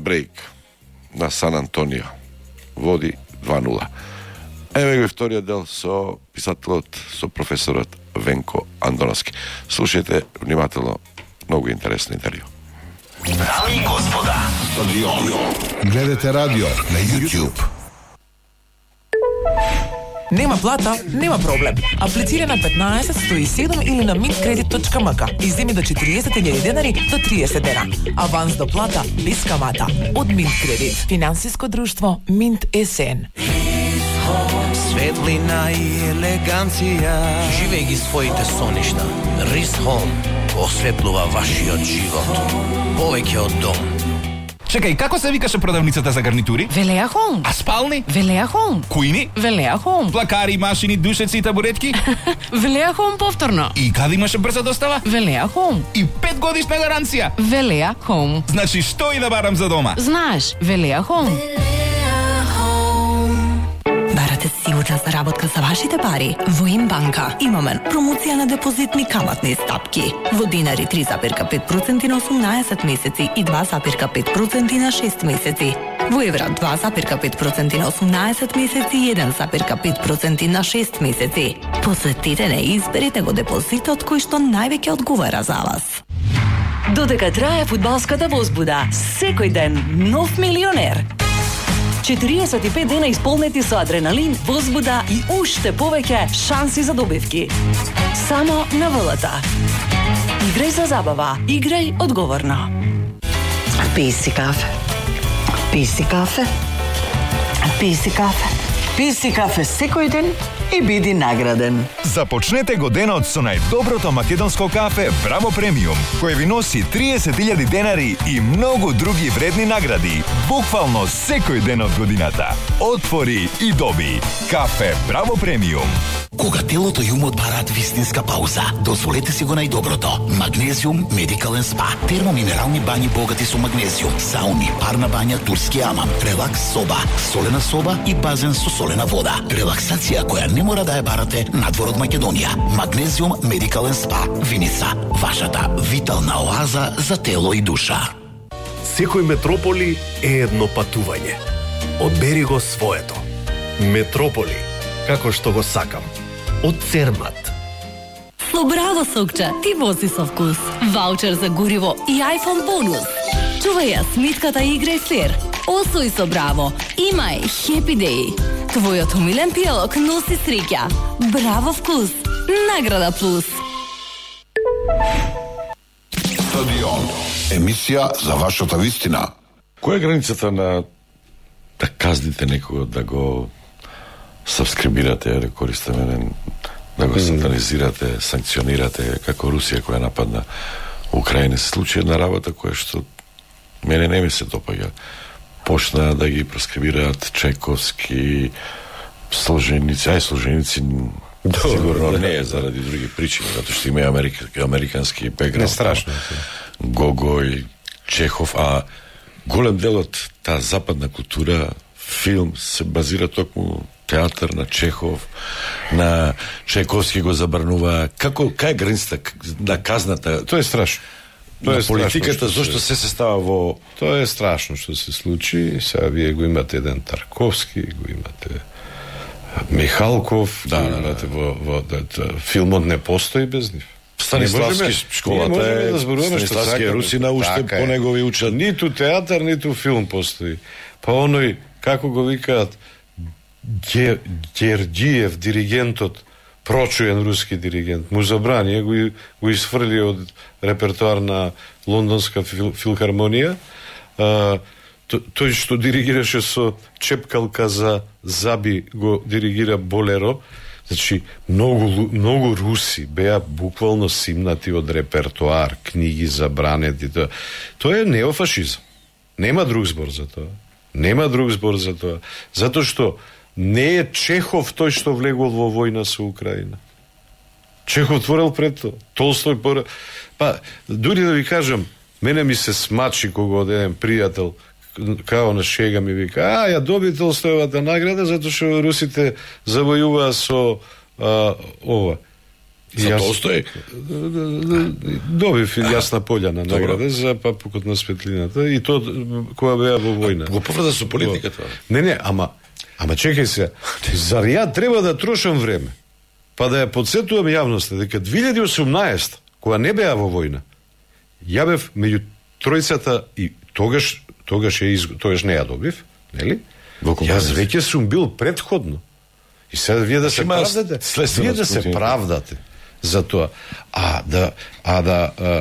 Брейк на Сан Антонио води 2-0. Еве го вториот дел со писателот, со професорот Венко Андоновски. Слушајте внимателно, многу интересно интервју. Дами и господа, стадион. Гледате радио на YouTube. Нема плата, нема проблем. Аплицира на 15-107 или на mintkredit.mk и земи до 40.000 денари до 30 дена. Аванс до плата без камата. Од Mintkredit. Финансиско друштво Mint СН. Светлина и елеганција. Живеј ги своите соништа. Рис Home осветлува вашиот живот. Повеќе од дом. Чекај, како се викаше продавницата за гарнитури? Велеа Home. А спални? Велеа Home. Кујни? Велеа Home. Плакари, машини, душеци и табуретки? Велеа Home повторно. И каде имаше брза достава? Велеа Home. И 5 годишна гаранција. Велеа Home. Значи, што и да барам за дома? Знаеш, Велеа Home. Барате сигурна заработка за вашите пари? Во Имбанка имаме промоција на депозитни каматни стапки. Во динари 3,5% на 18 месеци и 2,5% на 6 месеци. Во евра 2,5% на 18 месеци и 1,5% на 6 месеци. Посетете не и изберете го депозитот кој што највеќе одговара за вас. Додека трае фудбалската возбуда, секој ден нов милионер. 45 дена исполнети со адреналин, возбуда и уште повеќе шанси за добивки. Само на ВЛТ. Играј за забава, играј одговорно. Пи си кафе. Пи си кафе. Пи си кафе. Пи си кафе секој ден и биди награден. Започнете го денот со најдоброто македонско кафе Браво Премиум, кој ви носи 30.000 денари и многу други вредни награди, буквално секој ден од годината. Отвори и доби. Кафе Браво Премиум. Кога телото и умот бараат вистинска пауза, дозволете си го најдоброто. Магнезиум Медикален спа. Термоминерални бањи богати со магнезиум, сауни, парна бања, турски амам, релакс соба, солена соба и базен со солена вода. Релаксација која не мора да ја барате надвор од Македонија. Магнезиум Медикален спа. Виница, вашата витална оаза за тело и душа. Секој метрополи е едно патување. Одбери го своето. Метрополи, како што го сакам. Од Цермат. Со Браво сокче, ти вози со вкус. Ваучер за гориво и iPhone бонус. Чувај ја смитката и играј фер. Освој со Браво. Имај Happy Day. Твојот умилен пијалок носи среќа. Браво вкус. Награда плюс. Стадион. Емисија за вашата вистина. Која е границата на да казните некого, да го сабскрибирате, да користиме, да го сатанизирате, санкционирате, како Русија која нападна Украина? Се случи една работа која што мене не ми се допаѓа. Почна да ги проскрибираат Чайковски, Солженици, Солженици сигурно не е заради други причини, затоа што има американски бекграунд. Страшно. Гогој, Чехов, а голем дел од таа западна култура, филм се базира токму театар на Чехов, на Чайковски го забранува. Кај е границата на казната? Тоа е страшно. Тоа е политиката, зошто се става во... Тоа е страшно што се случи. Сега вие го имате еден Тарковски, го имате Михалков, го имате во филмот не постои без нив. Станиславски школата е, Станиславски е Русина, уште по него ви учат. Ниту театар, ниту филм постои. Па оној, како го викаат, Гердиев, диригентот, прочуен руски диригент, му забрани, го изфрли од репертоар на Лондонска филхармонија. Тој што диригираше со чепкалка за заби, го диригира Болеро. Значи, многу руси беа буквално симнати од репертоар, книги забранети. Тоа е неофашизм. Нема друг збор за тоа. Нема друг збор за тоа. Затоа што не е Чехов тој што влегол во војна со Украина. Чехов творел пред тоа. Толстој Па, дури да ви кажам, мене ми се смачи кога од еден пријател као на шега ми вика, ја доби Толстојевата награда затоа што русите завојуваа со ова. За Толстој? Добив и Јасна Пољана награда за Папукот на светлината и то кога беа во војна. Го поврза со политиката. Не, ама чекај се. Зар ја треба да трошам време? Па да ја подсетувам јавноста дека 2018 кога не беа во војна, ја бев меѓу тројцата и тогаш не ја добив, нели? Јас веќе сум бил предходно. И сега вие да се правдате, за тоа.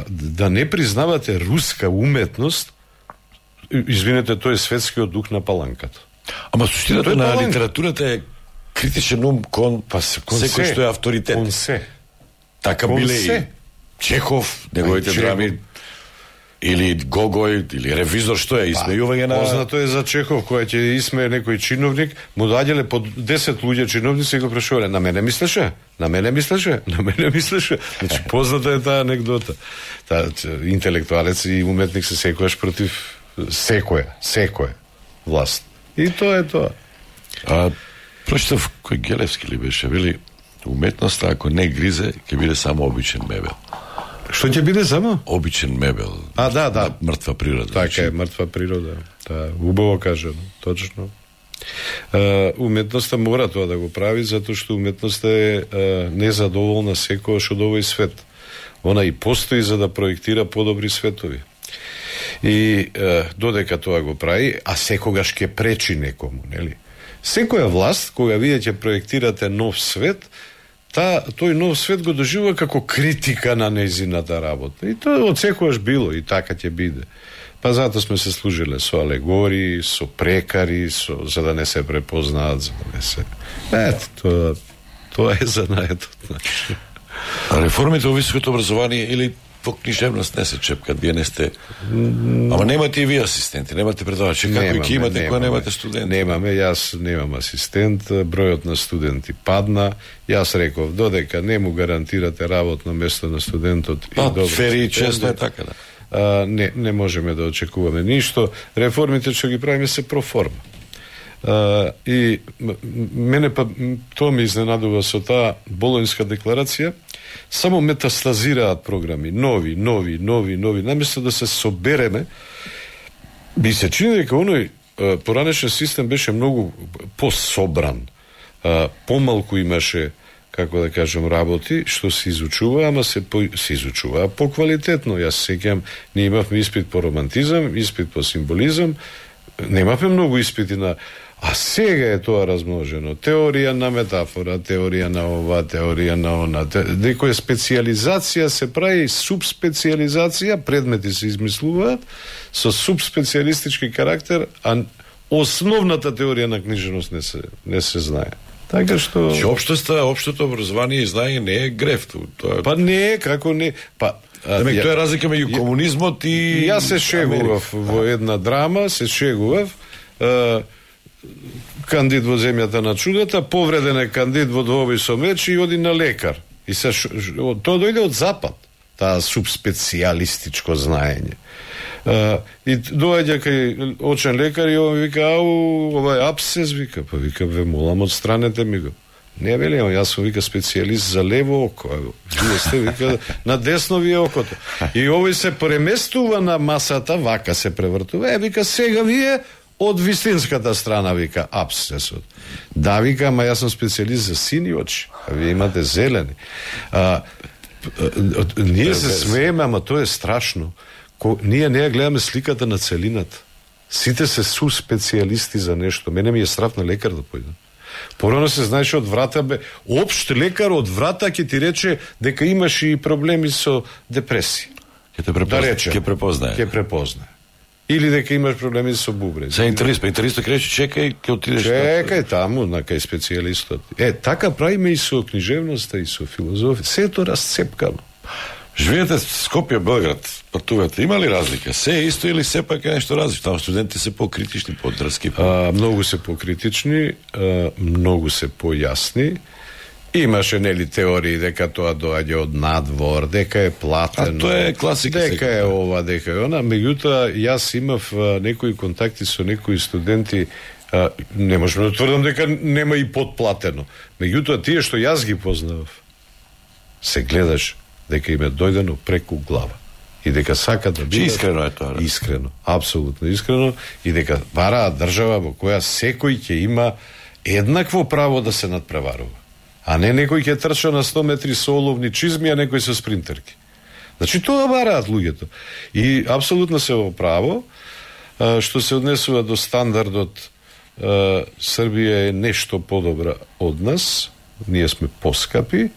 Да не признавате руска уметност, извинете, тој е светскиот дух на паланката. Ама суштината на литературата е критичен ум кон секој што е авторитет. Кон се. Така биле и Чехов, неговите драми, или Гогој, или Ревизор, што е исмејување на... Познато е за Чехов, која ќе исмее некој чиновник, му доаѓале по 10 луѓе чиновници и го прашувале, на мене мислеше? Значи, позната е таа анекдота. Интелектуалец и уметник се секојаш против секоја власт. И тоа е тоа. Прочитав кој Гелевски ли беше, вели, уметноста ако не гризе, ќе биде само обичен мебел. Што ќе биде само? Обичен мебел. Да. Мртва природа. Така е, мртва природа. Убаво кажано, точно. Уметноста мора тоа да го прави, затоа што уметноста е незадоволна секојаш од овој свет. Она и постои за да проектира подобри светови. И додека тоа го прави, а секогаш ќе пречи некому, нели? Секоја власт, кога вие ќе проектирате нов свет, тој нов свет го доживува како критика на нејзината работа. И тоа од секојаш било и така ќе биде. Па затоа сме се служиле со алегории, со прекари, за да не се препознаат, за да не се... Тоа е занаетот. Реформите во високото образование или по книжевност не се чепкат, вие не сте... Ама немате и вие асистенти, немате предавачи, како и ќе имате кога немате студенти? Немаме, јас немам асистент, бројот на студенти падна, јас реков, додека не му гарантирате работно место на студентот и добро... Фери често е така, да. Не можеме да очекуваме ништо, реформите што ги правиме се проформа. И мене па тоа ме изненадува со таа Болонјска декларација, само метастазираат програми, нови, наместо да се собереме, би се чини дека оној поранешен систем беше многу пособран, помалку имаше, како да кажем, работи, што се изучува, ама се изучува поквалитетно. Јас сеќам, ние имавме испит по романтизам, испит по символизам, немавме многу испити на... А сега е тоа размножено. Теорија на метафора, теорија на ова, теорија на она. Некоја специализација се прави, субспециализација, предмети се измислуваат со субспециалистички карактер, а основната теорија на книжевност не се знае. Така што... Општото образование и знаење не е греф. Па не е, како не... Тоа е разлика меѓу комунизмот и... Јас се шегував во една драма, кандид во земјата на чудата, повреден е кандид во двобој со меч и оди на лекар. И тоа дојде од запад, таа субспецијалистичко знаење. И доаѓа кај очен лекар и он вика, ова е апсес, вика, па вика, ве молам, отстранете ми го. Не, вели, јас сум, вика, специјалист за лево око. Вие сте, вика, на десно ви е окото. И овој се преместува на масата, вака се превртува. Вика, сега вие од вистинската страна, вика, апсесот. Да, вика, ама јас сум специјалист за сини очи, а вие имате зелени. Ние се смееме, ама тоа е страшно. Ние не ја гледаме сликата на целината. Сите се специјалисти за нешто. Мене ми е страв на лекар да појдам. Порано се знаеше од врата, општ лекар од врата ќе ти рече дека имаш и проблеми со депресија. Ќе препознае. Или дека имаш проблеми со бубрез. За интернистот ќе рече чекај, ќе отидеш. Чекај таму на кај специјалистот. Така правиме и со книжевноста и со филозофија. Се е тоа расцепкано. Живеете в Скопје, Белград, патувате. Има ли разлика? Се е исто или сепак е нешто различно? Таму студентите се покритични, подрски? Многу се покритични, многу се појасни. Имаше, нели, теории дека тоа доаѓа од надвор, дека е платено. Тоа е класика. Дека е ова, дека е она. Меѓутоа, јас имав некои контакти со некои студенти, не можеме да тврдам дека нема и подплатено. Меѓутоа, тие што јас ги познавав, се гледаш дека им е дојдено преку глава. И дека сакат да бидат... Искрено е тоа. Искрено, апсолутно искрено. И дека бараат држава во која секој ќе има еднакво право да се надпреварува. А не некој ќе трча на 100 метри со оловни чизми, а некој со спринтерки. Значи, тоа бараат луѓето. И апсолутно се во право, што се однесува до стандардот, Србија е нешто подобра од нас, ние сме поскапи,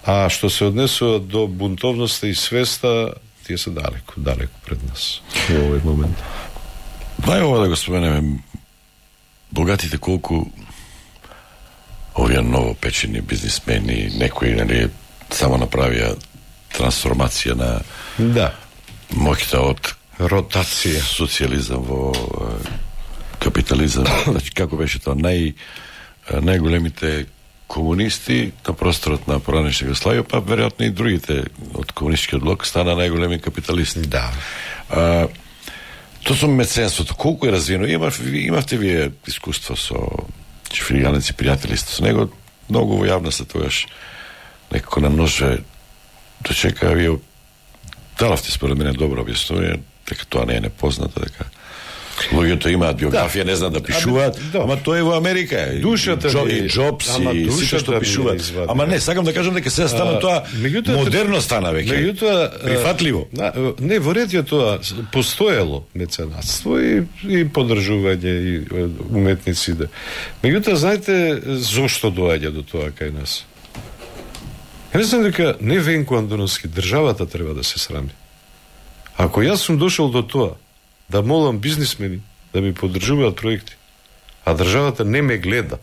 а што се однесува до бунтовноста и свеста, тие се далеко пред нас во овој момент. Најова да го споменеме, богатите колку овие новопечени бизнисмени, некои, нели, само направија трансформација на моќта од ротација, социјализам во капитализам. Значи, како беше тоа, најголемите комунисти на просторот на поранешна Југославија, па веројатно и другите од комунистичкиот блок стана најголеми капиталисти. Да. Тоа со меценството, колку е развиено? Имавте вие искуство со Чифлиганец и пријатели сте со него, многу во јавноста тогаш некако на ноже дочека, вие дававте според мене добро објаснување, дека тоа не е непознато, дека луѓето имаат биографија, не знаат да пишуваат, ама тоа е во Америка. Душата и Джобс и сите што пишуваат. Ама не, сакам да кажам дека сега стана тоа модерно стана веќе. Прифатливо. Не, во ред е тоа, постоело меценатство и поддржување и уметници. Меѓутоа, знаете зошто доаѓа до тоа кај нас? Мислам дека не Венко Андоновски, државата треба да се срами. Ако јас сум дошол до тоа да молам бизнисмени да ми поддржуваат проекти, а државата не ме гледа,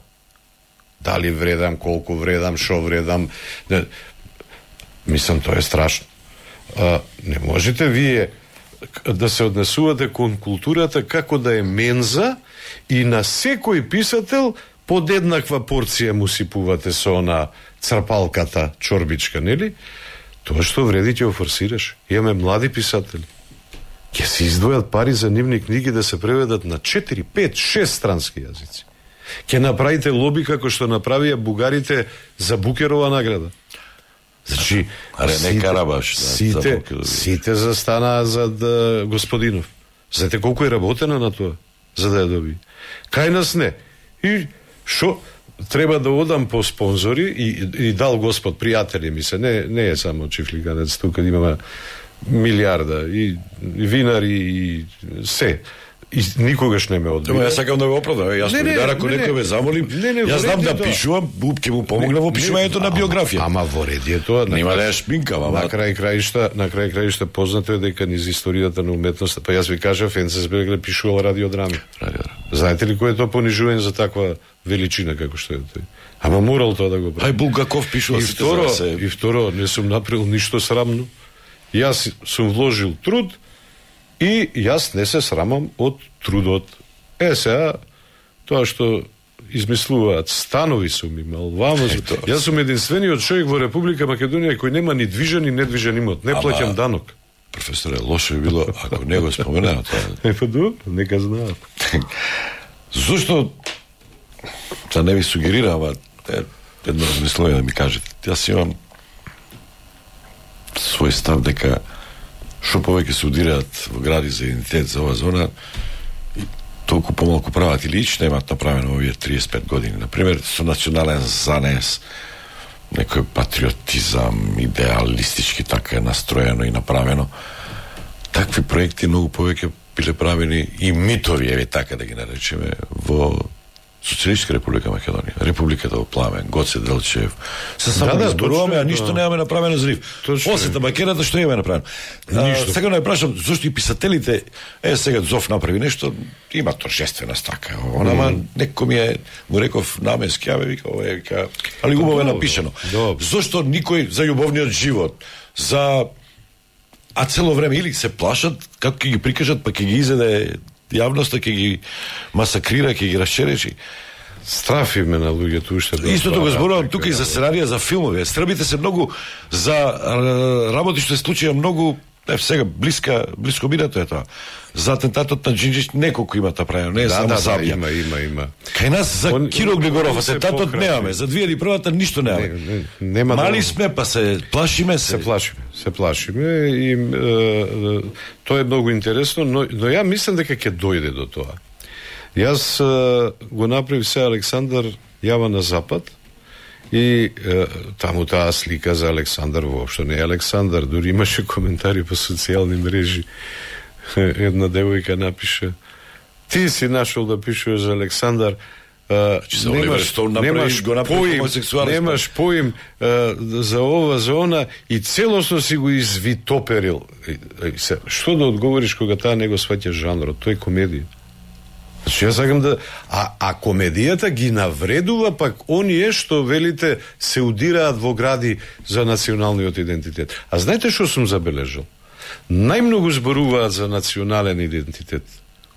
дали вредам, колку вредам, шо вредам, мислам, тоа е страшно. Не можете вие да се однесувате кон културата како да е менза и на секој писател под еднаква порција му сипувате со она црпалката чорбичка, нели? Тоа што вреди ќе офорсираш. Имаме млади писатели. Ќе се издвојат пари за нивни книги да се преведат на 4, 5, 6 странски јазици. Ќе направите лоби како што направија бугарите за Букерова награда. Значи, не Карабаш, сите застанаа зад Господинов. Знаете колку е работено на тоа за да ја доби. Кај нас не. И шо треба да одам по спонзори и дал Господ пријатели ми се, не е само Чифлиганец, тука имаме милиарда и винари и се. И никогаш не ме одбива. Јас сакам да го оправдам. Јас повидар, ако некој ме замолим, јас знам да пишувам, ќе му помогна во пишувањето на биографија. Ама во ред е тоа. Нема да ја шпинкам, ама на крај краишта познато е дека низ историјата на уметноста, па јас ви кажав, Енцесберг пишувал радиодрами. Знаете ли кој е тоа понижување за таква величина како што е тој? Ама морал тоа да го прави. Ај Булгаков пишува сите за се. И второ, не сум направил ништо срамно. Јас сум вложил труд и јас не се срамам од трудот. Сега, тоа што измислуваат, станови сум имал, јас сум единствениот човек во Република Македонија кој нема ни движен и недвижен имот. Не плаќам данок. Професоре, лошо би било ако не го споменаа тоа. Па добро, нека знаат. Зошто, да не ви сугерира, ама едно размислување да ми кажете. Јас имам свој став дека што повеќе се удираат во гради за идентитет за оваа зона, и толку помалку прават или ич немаат направено овие 35 години. Например, со национален занес, некој патриотизам, идеалистички така е настроено и направено. Такви проекти многу повеќе биле правени и митови, еве така да ги наречеме, во Социјалистичка Република Македонија, Републиката во пламен, Гоце Делчев. Се само да зборуваме, а ништо немаме направено за нив. После Табакерата што имаме направено? Сега не прашам зошто и писателите, сега Зов направи нешто, има торжествена стака. Ама некој ми е, му реков наменски, вика, али убаво е напишано. Зошто никој за љубовниот живот, за а цело време или се плашат како ќе ги прикажат, па ќе ги изеде јавноста, ќе ги масакрира, ќе ги расчеречи. Страфи ме на луѓето уште. Истото го зборувам тука и за сценарија за филмови. Стрбите се многу за работи што се случија многу сега блиско минато е тоа. За атентатот на Џинџич неколку има направено, не е само Сабија. Има. Кај нас за Киро Глигоров атентатот немаме, за 2001-та ништо немаме. Мали сме, па се плашиме се. Се плашиме и тоа е многу интересно, но ја мислам дека ќе дојде до тоа. Јас го направив се Александар јава на Запад и таму таа слика за Александар воопшто не е Александар, дури имаше коментари по социјални мрежи. Една девојка напише: "Ти си нашол да пишеш за Александар, немаш поим за ова, за она и целосно си го извитоперил." Што да одговориш кога таа не го сваќа жанрот? Тоа е комедија. Значи, јас сакам да... А комедијата ги навредува пак оние што, велите, се удираат во гради за националниот идентитет. А знаете што сум забележал? Најмногу зборуваат за национален идентитет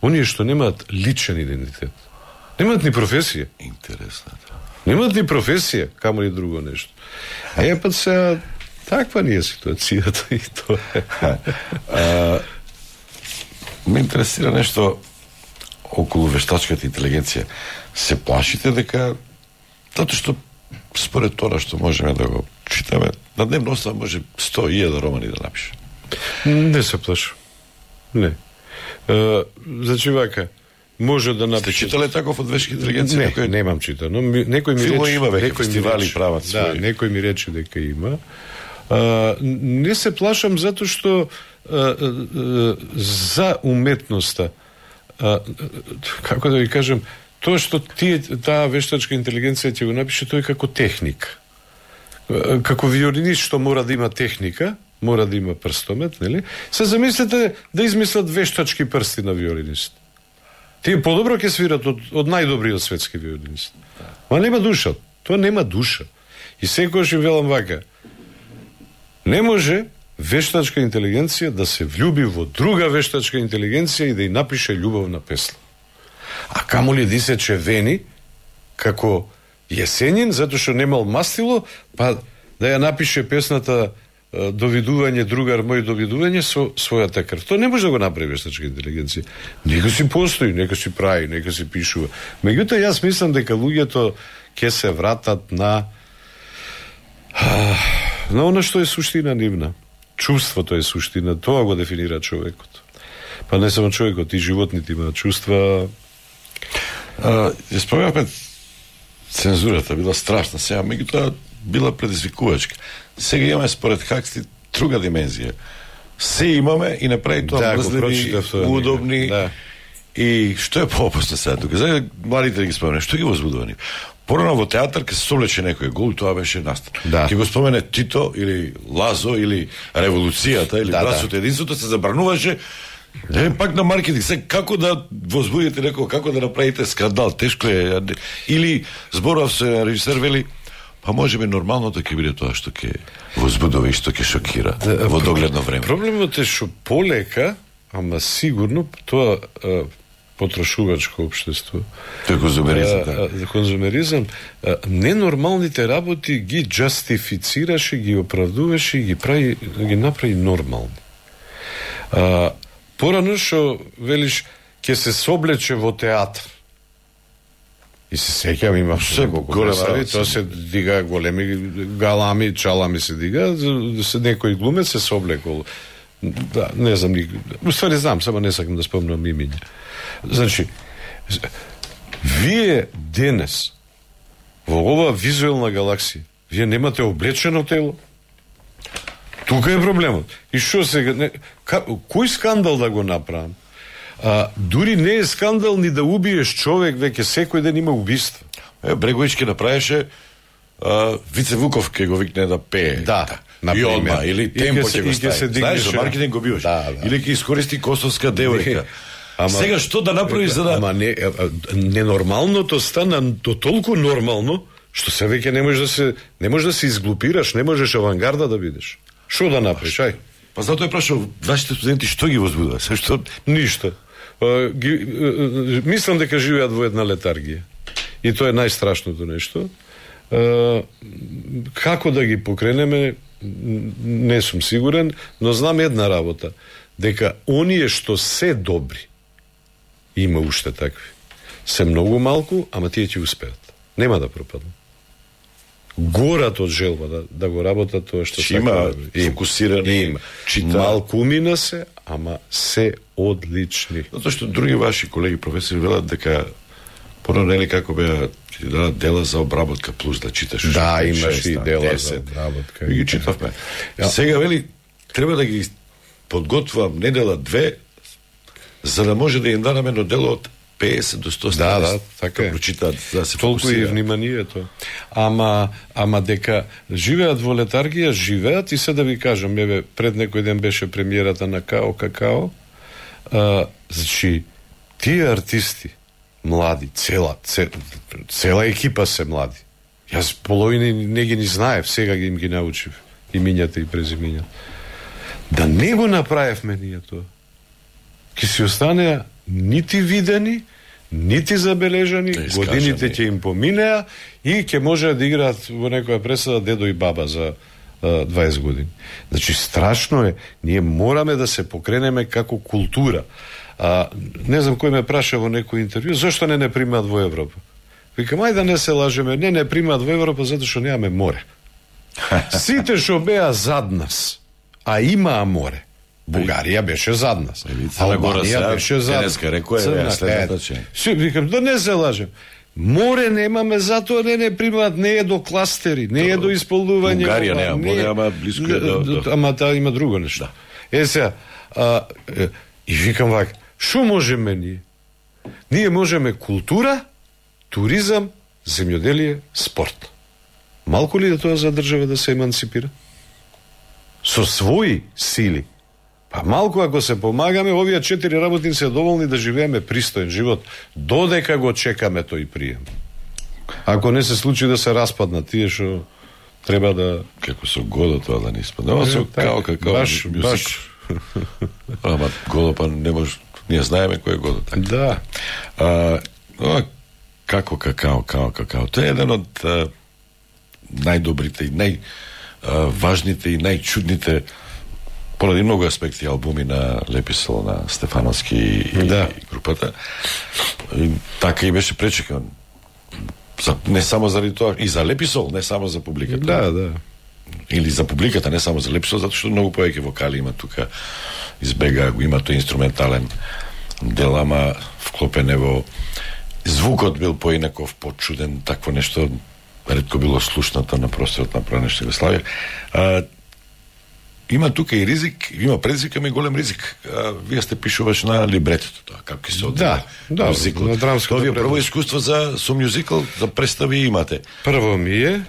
оние што немаат личен идентитет. Немаат ни професија. Интересно. Немаат ни професија, камо ли друго нешто. А ја пат сега таква ни е ситуацијата и тоа е. Ме интересира нешто околу вештачката интелигенција. Се плашите дека, затоа што според тоа што можеме да го читаме, на дневна основа може 100.000 романи да напише. Не се плашам. Не. Значи вака, може да напише... Сте читале таков од вештачка интелигенција? Не, немам читано. Некој ми рече... има веќе некој фестивали прават своји. Да, некој ми рече дека има. Не се плашам затоа што за уметноста, како да ви кажем, тоа што таа вештачка интелигенција ќе го напише, тоа е како техника. Како виолинист што мора да има техника, мора да има прстомет, нели? Се замислете да измислат вештачки прсти на виолинист. Тие подобро ќе свират од најдобриот светски виолинист. Ма нема душа. Тоа нема душа. И секогаш им велам вака: не може вештачка интелигенција да се влюби во друга вештачка интелигенција и да ја напише љубовна песна. А камо ли да се чевени како Јесенин, затоа што немал мастило, па да ја напише песната "Довидување, другар мој, довидување" со својата крв. Тоа не може да го направи вештачка интелигенција. Нека си постои, нека си прави, нека си пишува. Меѓутоа, јас мислам дека луѓето ќе се вратат на она што е суштина нивна. Чувството е суштина, тоа го дефинира човекот. Па не само човекот, и животните имаат чувства. Ја спомнавме, цензурата била страшна, сега меѓутоа била предизвикувачка. Сега имаме според Хаксли друга димензија. Се имаме и направи тоа мрзливи, удобни. Да. И што е поопасно сега тука? За младите да ги спомене, што ги возбудувани? Порано во театар ке се совлече некој гол, тоа беше настан. Да. Ке го спомене Тито или Лазо или Револуцијата или Братството единството, се забрануваше. Пак на маркетинг, се како да возбудите некој, како да направите скандал, тешко е. Или зборав се режисер вели, па можеби нормалното ќе биде тоа што ќе возбудува и што ќе шокира во догледно време. Проблемот е што полека, ама сигурно тоа потрошувачко општество. Тој конзумеризам, конзумеризам, ненормалните работи ги джастифицираше, ги оправдуваше и ги направи нормални. Порано што велиш ќе се соблече во театар. И се сеќавам, има се големи, тоа се дига големи галами, чалами се дига, се некој глумец се соблекол. Да, не знам ни. Уствари знам, само не сакам да спомнам имиња. Значи, вие денес во оваа визуелна галаксија, вие немате облечено тело. Тука е проблемот. И што сега, кој скандал да го направам? Дури не е скандал ни да убиеш човек, веќе секој ден има убиство. Брегович ке направеше Вице Вуков ке го викне да пее. Да, и одма, или темпо ќе го стави. Знаеш, за маркетинг го биваш. Или ќе искористи косовска девојка. Сега што да направиш за да... Ама ненормалното стана до толку нормално, што се веќе не можеш да се изглупираш, не можеш авангарда да бидеш. Што да направиш, ај? Па затоа е прашал, вашите студенти што ги возбудува? Што? Ништо. Мислам дека живеат во една летаргија. И тоа е најстрашното нешто. Како да ги покренеме, не сум сигурен, но знам една работа, дека оние што се добри, има уште такви, се многу малку, ама тие ќе успеат. Нема да пропаднат. Горат од желба да го работат тоа што Чи има фокусирани, чита. Малку умина се, ама се одлични. Затоа што други ваши колеги професори велат дека порано нели како беа ќе дадат дела за обработка плюс да читаш. Да, имаш и дела за обработка. И ги читавме. Сега вели треба да ги подготвам недела 2 за да може да им дадам едно дело од 50 до 100 страници. Да, така е. Прочитаат, да се толку и вниманието. Ама дека живеат во летаргија, живеат и се да ви кажам, пред некој ден беше премиерата на Као Какао. Значи, тие артисти, млади, цела екипа се млади. Јас половина не ги ни знаев, сега им ги научив. Имињата и презимињата. Да не го направевме ние тоа, ќе си останеа нити видени, нити забележани, годините ќе им поминеа и ќе може да играат во некоја пресада дедо и баба за 20 години. Значи, страшно е. Ние мораме да се покренеме како култура. Не знам кој ме праша во некој интервју, зашто не примаат во Европа? Викам, ајде да не се лажеме, не примаат во Европа затоа што немаме море. Сите што беа зад нас, а имаа море. Бугарија беше зад нас. Албанија беше зад нас. Викам, да не се лажем. Море немаме, затоа не примаат, не е до кластери, не е до исполнување. Бугарија нема море, ама близко е до... Ама таа има друго нешто. Сега, и викам вака, шо можеме ние? Ние можеме култура, туризам, земјоделие, спорт. Малку ли да тоа за држава да се еманципира? Со своји сили. Па малку ако се помагаме, овие 4 работници се доволни да живееме пристоен живот, додека го чекаме тој прием. Ако не се случи да се распаднат тие што треба да... Како со Годо тоа да не испадне. Ама со Као Какао мюзик. Ама Годо па не може... Ние знаеме кој е Годо. Да. Како Какао. Тоа е еден од најдобрите и најважните и најчудните поради многу аспекти албуми на Леписол, на Стефановски и групата. И така и беше пречекан. Не само заради тоа, и за Леписол, не само за публиката. Да. Или за публиката, не само за Леписол, затоа што многу повеќе вокали има тука. Избега го има тој инструментален дел, ама вклопен во звукот бил поинаков, почуден, такво нешто ретко било слушнато на просторот на Пранешна Југославија. Има тука и ризик, има предизвик, ама и голем ризик. Вие сте пишуваш на либретото тоа, како ќе се одвива. Да, на драмското. Тоа е прво искуство со мюзикл, за представи имате. Прво ми е.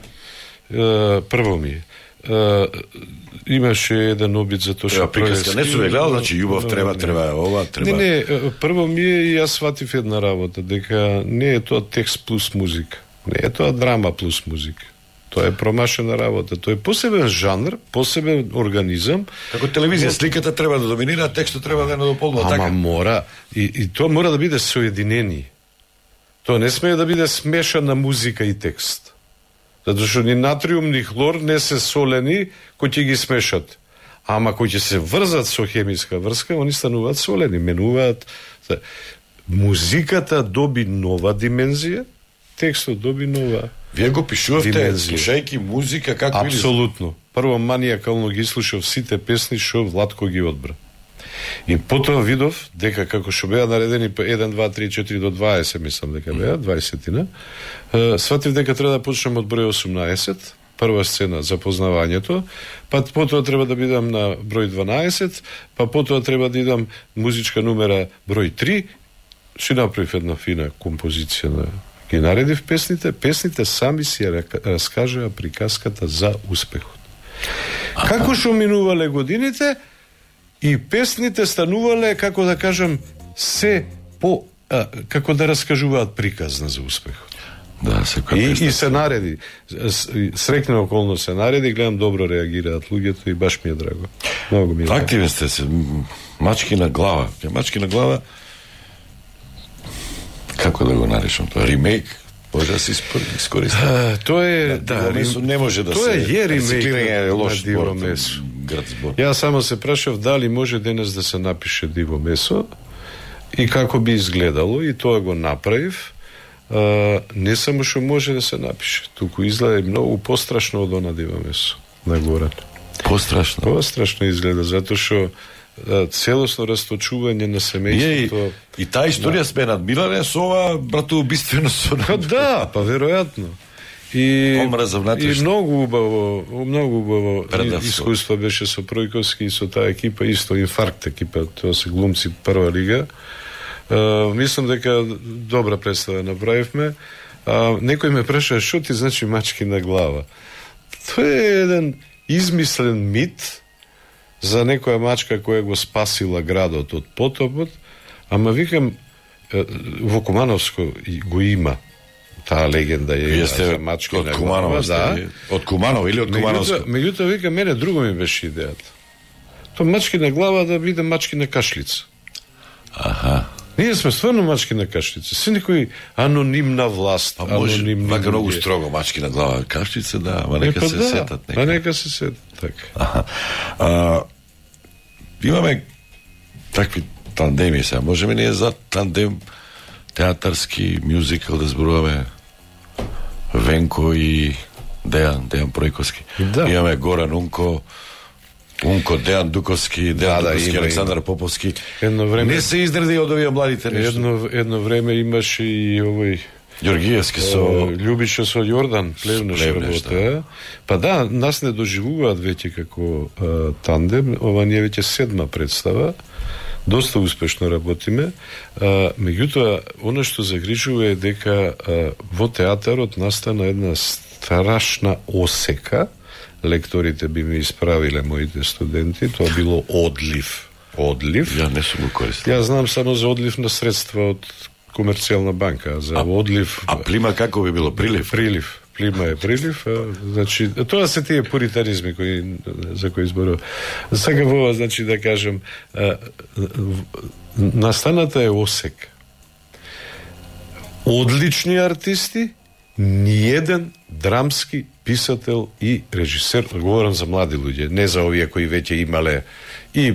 Имаше еден обид за тоа што приказка не сум гледал, значи љубов треба ова, треба. Не, прво ми е и јас сватив една работа, дека не е тоа текст плюс музика. Не е тоа драма плюс музика. Тоа е промашена работа. Тоа е посебен жанр, посебен организам. Како телевизија, сликата треба да доминира, текстот треба да не дополнува така. Ама мора, и тоа мора да биде соединени. Тоа не смее да биде смешана музика и текст. Затоа што ни натриум, ни хлор не се солени кои ќе ги смешат. Ама кои ќе се врзат со хемиска врска, они стануваат солени, менуваат. Музиката доби нова димензија, текстот доби нова. Вие го пишувавте слушајќи музика како или... Апсолутно. Прво манијакално ги слушав сите песни што Владко ги одбра. И потоа видов дека како што беа наредени 1, 2, 3, 4 до 20, мислам дека беа 20-тина. Сватив дека треба да почнем од број 18, прва сцена запознавањето, па потоа треба да бидам на број 12, па потоа треба да идам музичка номера број 3. Си направив една фина композиција на ги наредив песните сами си раскажаа приказката за успехот. Како што минувале годините и песните станувале, како да кажам, се по како да раскажуваат приказна за успехот. Да, и се нареди. Срекна околно се нареди, гледам добро реагираат луѓето и баш ми е драго. Многу ми е драго. Активен сте се, мачки на глава. Мачки на глава, како да го наречам тоа, ремейк, Може да се искористи. Тоа е, да, месо не може да тоа се е рециклирање, лош лош диво збор, месо. град збор. Ја само се прашав дали може денес да се напише диво месо и како би изгледало, и тоа го направив. Не само што може да се напише, туку изгледа многу пострашно од она диво месо на Горан. Пострашно? Пострашно изгледа, затоа што целосно расточување на семејството. И таа историја сме надмилале со ова братоубиствено со... Да, па веројатно. И многу убаво искуство беше со Пројковски и со таа екипа, исто инфаркт екипа, тоа се глумци прва лига. Мислам дека добра представа направивме. Некој ме праша, што ти значи мачки на глава? Тоа е еден измислен мит за некоја мачка која го спасила градот од потопот, ама викам, во Кумановско го има таа легенда е за мачки на глава. Да. Од Куманово или од Кумановско? Меѓутоа вика, мене друго ми беше идејата. Тоа мачки на глава да биде мачки на кашлица. Аха. Ние сме стварно мачки на кашлица. Се некој анонимна власт, анонимни луѓе. Многу строго мачки на глава кашлица, да, ама нека се сетат. Нека се сетат, така. Имаме такви тандеми сега. Можеме ние за тандем театарски, мюзикал да зборуваме Венко и Дејан Пројковски. Да. Имаме Горан Унко, Дејан Дуковски, Дуковски, Александар Поповски. Не се изреди од овие младите нешто. Едно време имаше и овој Ѓоргиевски со Љубиша со Јордан Плевнеш работа. Па да, нас не доживуваат веќе како тандем, ова не е веќе 7-ма представа. Доста успешно работиме. Меѓутоа, она што загрижува е дека во театарот настана една страшна осека. Лекторите би ми исправиле моите студенти, тоа било одлив. Ја не сум го користил. Ја знам само за одлив на средства од Комерцијална банка, за одлив. А плима како би било? Прилив? Плима е прилив. Значи, тоа се тие пуритаризми за кои зборува. Сега во, значи, да кажем, настаната е осек. Одлични артисти, ниеден драмски писател и режисер, говорам за млади луѓе, не за овие кои веќе имале и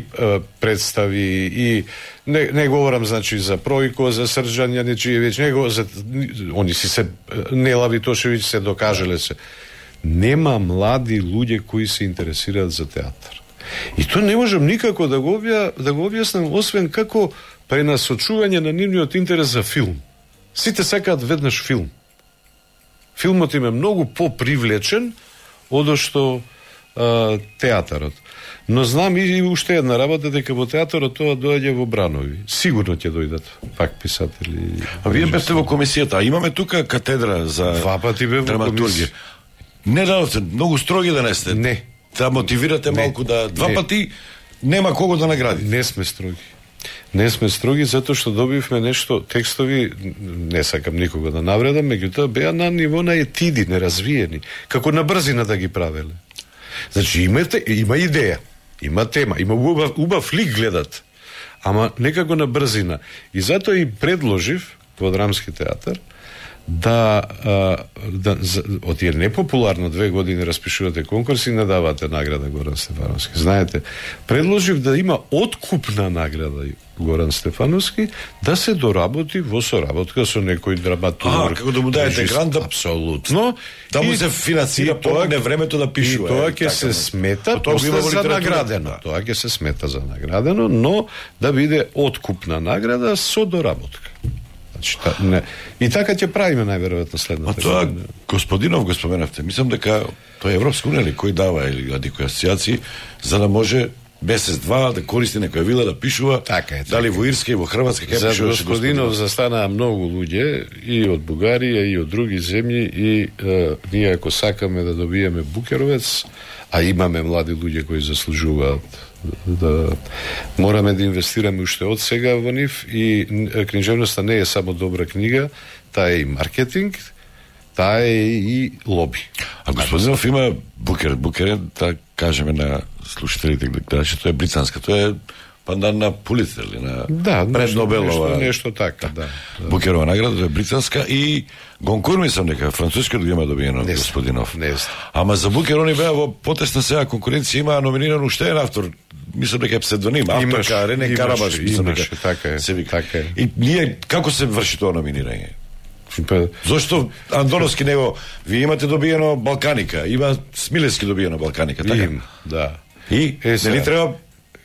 представи, и не говорам, значи, за Пројко, за Срđan Јаничиевиќ, они си се, Нела Витошевиќ се докажале се. Нема млади луѓе кои се интересираат за театар. И тоа не можам никако да го објаснам, освен како пренасочување на нивниот интерес за филм. Сите сакаат веднаш филм. Филмот им е многу попривлечен од што театарот. Но знам и уште една работа, дека во театарот тоа доаѓа во бранови. Сигурно ќе дојдат пак писатели. А вие бевте во комисијата, а имаме тука катедра за драматургија. Не дадовте, многу строги да не сте. Не. Да мотивирате малку да... Два пати нема кого да награди. Не сме строги. Не сме строги затоа што добивме нешто, текстови, не сакам никога да навредам, меѓутоа беа на ниво на етиди, неразвиени, како на брзина да ги правеле. Значи има идеја, има тема, има убав лик гледат, ама некако на брзина. И затоа и предложив во Драмски театар да од тие непопуларно 2 години распишувате конкурси и не давате награда Горан Стефановски. Знаете, предложив да има откупна награда Горан Стефановски, да се доработи во соработка со некој драматург. Како да му даете грант, апсолутно. Да му се финансира помогне времето да пишува. И тоа ќе се смета за наградено. Тоа ќе се смета за наградено, но да биде откупна награда со доработка. И така ќе правиме најверојатно следната. А тоа господинов го споменавте. Мислам дека тоа е Европска унија или кој дава или некои асоциации за да може месец-два да користи некоја вила да пишува. Така е. Дали во Ирска и во Хрватска ќе пишува. За господинов застанаа многу луѓе и од Бугарија и од други земји и ние ако сакаме да добиеме Букеровец, а имаме млади луѓе кои заслужуваат да мораме да инвестираме уште од сега во нив и книжевноста не е само добра книга, таа е и маркетинг, таа е и лоби. А господинов има Букер е, да кажеме на слушателите, гледачи, тоа е британска, тоа е па на Пулицер или на пред Нобелова. Нешто така, да. Букерова награда е британска и Гонкур мислам дека француска има добиено господинов. Ама за Букер они беа во потесна сега конкуренција, има номиниран уште еден автор, мислам дека е псевдоним, авторка Рене Карабаш, мислам дека така се вика. Така е. И ние како се врши тоа номинирање? Зошто Андоновски него, вие имате добиено Балканика, има Смилевски добиено Балканика, така? Да. И нели треба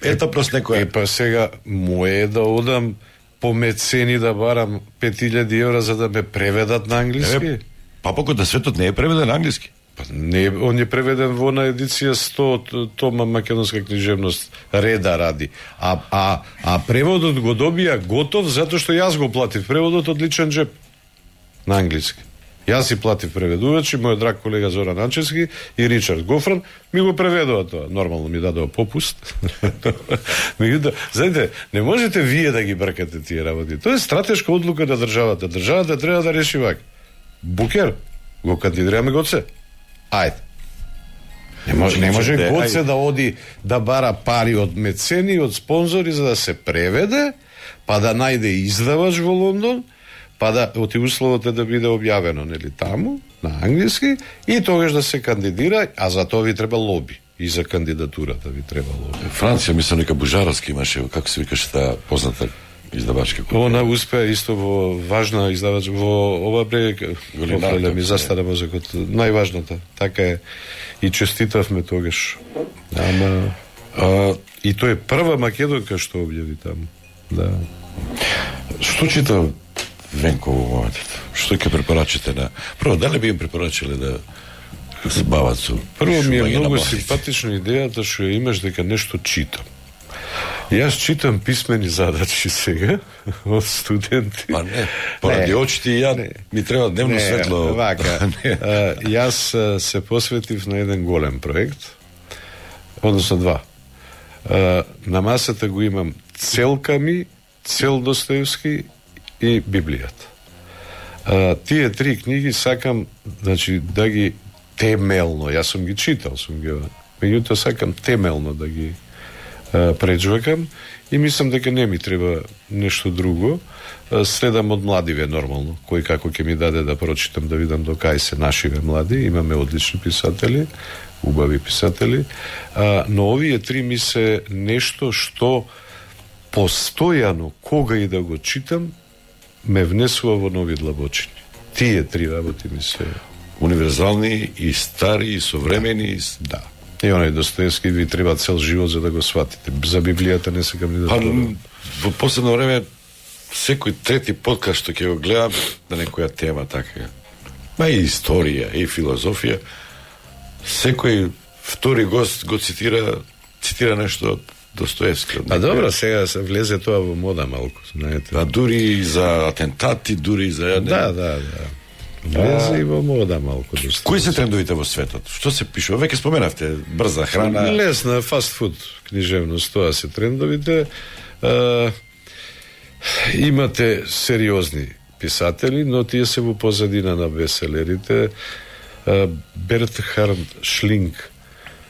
етапност некоја? Па сега мое да одам по мецени да барам 5000 евра за да ме преведат на англиски. Папокот на светот не е преведен на англиски. Па не, он е преведен во на едиција 100 тома македонска книжевност реда ради. А преводот го добија готов затоа што јас го платив преводот од личен джеп на англиски. Јас си платив преведувачи, мојот драг колега Зоран Анчевски и Ричард Гофран ми го преведува тоа. Нормално ми дадоа попуст. Меѓутоа, знаете, не можете вие да ги бркате тие работи. Тоа е стратешка одлука на државата. Државата треба да реши вака. Букер, го кандидираме Гоце. Ајде. Не може Гоце да оди да бара пари од мецени, од спонзори за да се преведе, па да најде издавач во Лондон, па да оти условот е да биде објавено, нели, таму, на англиски, и тогаш да се кандидира, а за тоа ви треба лоби. И за кандидатурата ви треба лоби. Франција, мислам, нека Бужаровски имаше, како се викаше таа позната издавачка култура. Она успеа исто во важна издавач, во ова брег, ми застара мозокот, најважната. Така е. И честитавме тогаш. Ама... и тој е прва македонка што објави таму. Да. Што чита Венко во моментот? Што ќе препорачите на... Прво, дали би им препорачале да се бават со... Прво ми е многу симпатична идејата што имаш дека нешто читам. Јас читам писмени задачи сега од студенти. Па не, поради очите и ја ми треба дневно светло. Вака. Јас се посветив на еден голем проект, односно два. На масата го имам целка ми, цел Достоевски и Библијата. Тие три книги сакам, значи, да ги темелно, јас сум ги читал, меѓутоа сакам темелно да ги преджвакам и мислам дека не ми треба нешто друго. Следам од младиве нормално, кој како ќе ми даде да прочитам, да видам до кај се нашиве млади, имаме одлични писатели, убави писатели, но овие три ми се нешто што постојано, кога и да го читам, ме внесува во нови длабочини. Тие три работи ми се универзални и стари и современи. Да. И оној Достоевски ви треба цел живот за да го сватите. За Библијата не секам ни да зборувам. Во последно време секој трети подкаст што ќе го гледам на некоја тема така. Ма и историја, и филозофија. Секој втори гост го цитира нешто од Достоевски. А добро, сега се влезе тоа во мода малку, знаете. А дури за атентати, дури за... Да. Влезе и во мода малку. Кои се трендовите во светот? Што се пишува? Веќе споменавте брза храна. Лесна, фастфуд книжевност, тоа се трендовите. Имате сериозни писатели, но тие се во позадина на беселерите. Бертхард Шлинг,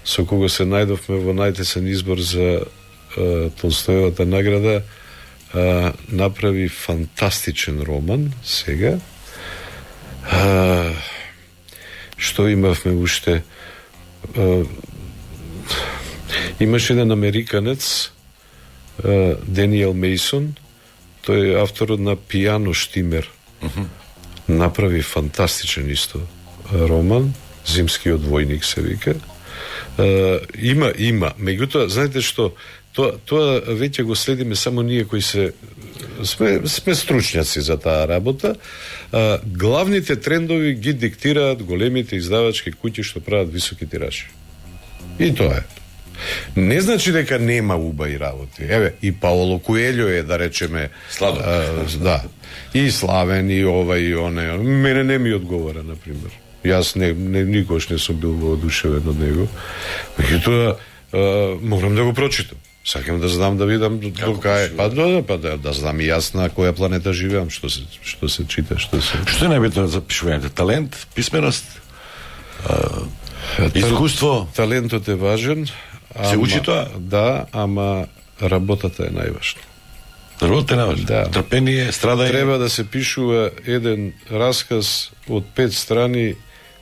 со кого се најдовме во најтесен избор за Толстоевата награда, направи фантастичен роман сега. Што имавме уште? Имаше еден американец, Даниел Мейсон, тој е авторот на Пијано Штимер. Направи фантастичен исто роман, Зимскиот војник се вика. Има, меѓутоа, знаете што, тоа веќе го следиме само ние кои сме стручњаци за таа работа. Главните трендови ги диктираат големите издавачки куќи што прават високи тиражи. И тоа е. Не значи дека нема убави работи. Еве, и Паоло Коелјо е, да речеме, да. И славен, и ова, и оне. Мене не ми одговара, например. Јас никош не сум бил воодушевен од него. Меѓутоа, морам да го прочитам. Сакам да знам, да видам до кај. Па да знам и јас на која планета живеам, што се чита, што се... Што е најбитно за пишувањето? Талент, писменост, искуство? Талентот е важен. Се учи тоа? Да, ама работата е најважна. Работата е најважна. Да. Трпение, страдање. Треба да се пишува еден расказ од 5 страни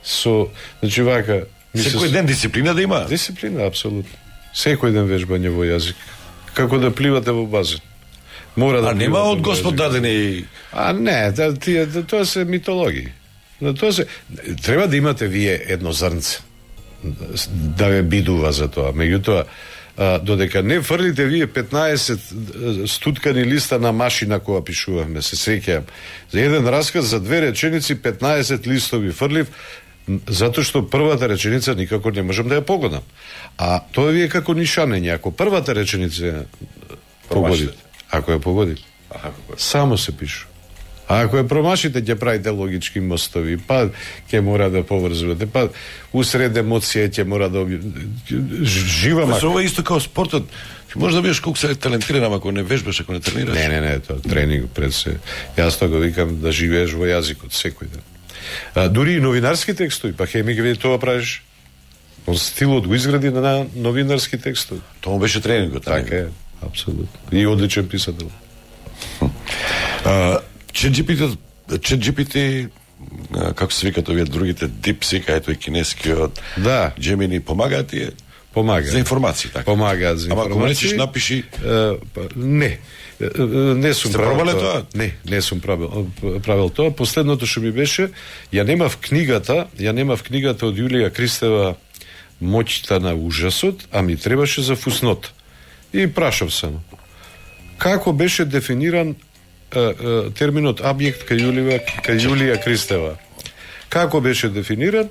со, значи вака, Секој ден дисциплина да има. Дисциплина, апсолутно. Секој ден вежбање во јазик. Како да пливате во базен. Мора да нема од Господ дадени. Не, тоа се митологии. Тоа се треба да имате вие едно зрнце да ве бидува за тоа. Меѓутоа, додека не фрлите вие 15 стуткани листа на машина кога пишуваме, се сеќавам. За еден расказ за 2 реченици 15 листови фрлив, затоа што првата реченица никако не можам да ја погодам. А тоа ви е како нишанење. Ако првата реченица погодите, ако ја погодите, само се пишу. А ако ја промашите, ќе правите логички мостови, па ќе мора да поврзувате, па усред емоција ќе мора да жива мака. Ова исто како спортот. Ти можеш да бидеш колку се талентиран, ако не вежбаш, ако не тренираш. Не, тоа тренинг пред се. Јас тоа го викам да живееш во јазикот секој ден. Дури и новинарски текстови, па Хеминг веќе тоа правиш. Он стилот го изгради на новинарски текстови. Тоа беше тренингот. Така е, апсолутно. И одличен писател. ChatGPT, како се викат овие другите, DeepSeek, ето и кинескиот, Gemini, помагаат тие? Помага. За информации, така? Помагаат за информации. Ама ако речеш, напиши... Не сум правил тоа. Не сум правил тоа. Последното што ми беше, ја немав книгата од Јулија Кристева Моќта на ужасот, а ми требаше за фуснот. И прашав само. Како беше дефиниран терминот објект кај Јулија Кристева? Како беше дефиниран?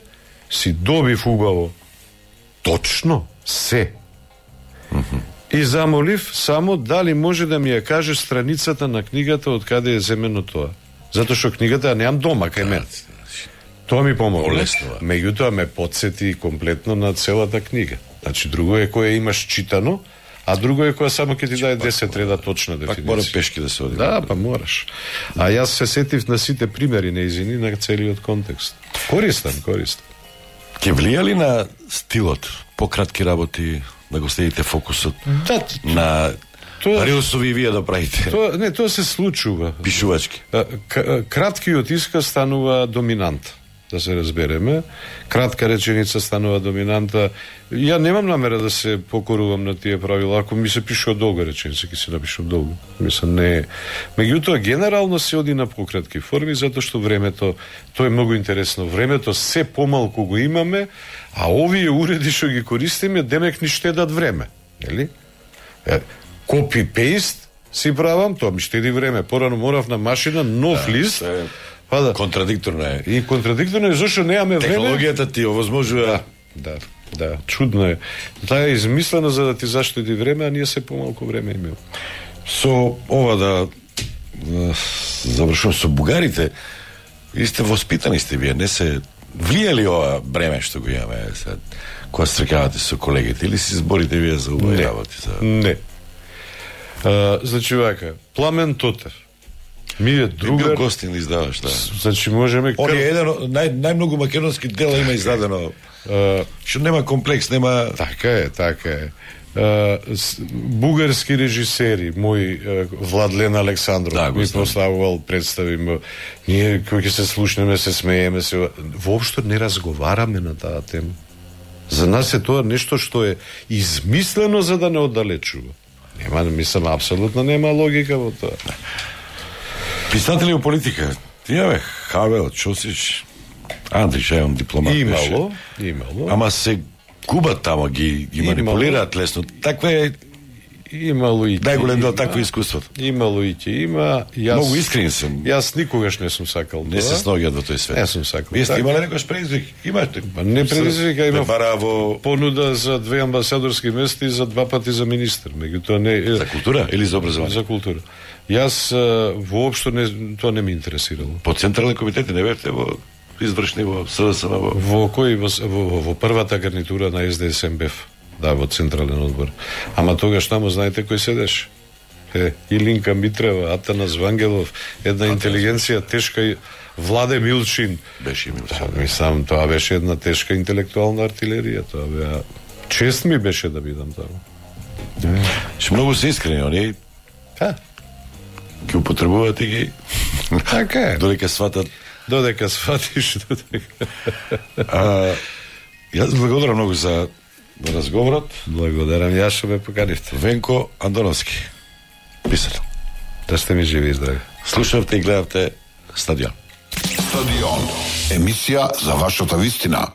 Си добив убаво. Точно се. И замолив само дали може да ми ја каже страницата на книгата од каде е земено тоа. Затоа што книгата ја немам дома кај мене. Тоа ми помогна. Меѓутоа ме потсети комплетно на целата книга. Значи, друго е кое имаш читано, а друго е кое само ќе ти даде 10 реда точна дефиниција. Пак мора пешки да се оди. Да, па мораш. А јас се сетив на сите примери неизини на целиот контекст. Користам. Ке влија ли на стилот пократки работи, да го следите фокусот на рилсови вие да правите? Тоа се случува. Пишувачки. Краткиот исказ станува доминант, да се разбереме. Кратка реченица станува доминанта. Ја немам намера да се покорувам на тие правила. Ако ми се пишува долга реченица, ќе се напишувам долго. Мислам, не. Меѓутоа, генерално се оди на пократки форми, затоа што времето, тоа е многу интересно. Времето се помалку го имаме, а овие уреди што ги користиме, демек ни штедат време. Нели? Копи-пейст си правам, тоа ми штеди време. Порано морав на машина, нов лист. Контрадикторно е. И контрадикторно е зашто немаме време. Технологијата ти овозможува. Да, чудно е. Таа е измислена за да ти заштеди време, а ние се помалку време имаме. Со ова да завршувам со бугарите, и сте воспитани сте вие, не се влија ли ова бреме што го имаме сега, кога стрекавате со колегите, или си зборите вие за убави работи? Не. Значи вака, Пламен Тотев, ми е другар... Бил гостин издаваш, да. Значи можеме... Он е еден од најмногу македонски дела има издадено. Што нема комплекс, нема... Така е. Бугарски режисери, мој Владлен Александров, ми поставувал представи, ние кои ќе се слушнеме, се смееме, воопшто не разговараме на таа тема. За нас е тоа нешто што е измислено за да не оддалечува. Мислам, апсолутно нема логика во тоа. Писатели во политика, имаме Хавел, Чосич, Андрич, имам дипломат. Имало. Ама се губат тамо, ги манипулираат лесно. Таква е имало и најголем дел такво искуството. Имало и ќе има. Многу искрен сум. Јас никогаш не сум сакал тоа. Не се сноѓат во тој свет. Не сум сакал. Вие сте имале некој предизвик? Имате? Не предизвик, а има Бараво понуда за 2 амбасадорски места и за 2 пати за министер. Меѓутоа не за култура или за образование? За култура. Јас воопшто тоа не ме интересирало. По централни комитети не бевте во извршни во СДСМ во кој во првата гарнитура на СДСМ бев. Да, во централен одбор. Ама тогаш таму знаете кој седеше? Илинка Митрева, Атанас Вангелов, една интелигенција тешка, Владе Милчин. Беше Милчин. Мислам, тоа беше една тешка интелектуална артилерија. Тоа беа чест ми беше да бидам таму. Што многу се искрени они. Ги употребуваат и ги. Така е. Додека сватат. Додека сватиш, додека. Јас благодарам многу за разговорот. Благодарам, јас што ме поканивте. Венко Андоновски, писател. Да сте ми живи и здрави. Слушавте и гледавте Стадион. Стадион. Емисија за вашата вистина.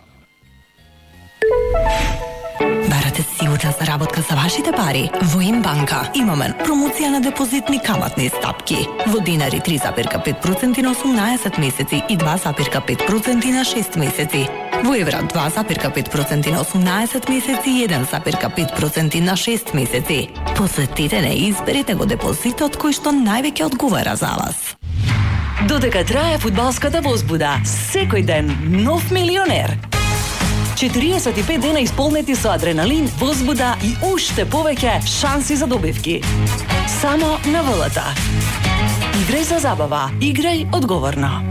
Барате сигурна заработка за вашите пари? Во Инбанка имаме промоција на депозитни каматни стапки. Во динари 3,5% на 18 месеци и 2,5% на 6 месеци. Во евра 2,5% на 18 месеци и 1,5% на 6 месеци. Посетете не и изберете го депозитот кој што највеќе одговара за вас. Додека трае фудбалската возбуда, секој ден нов милионер. 45 дена исполнети со адреналин, возбуда и уште повеќе шанси за добивки. Само на ВЛТ. Играј за забава, играј одговорно.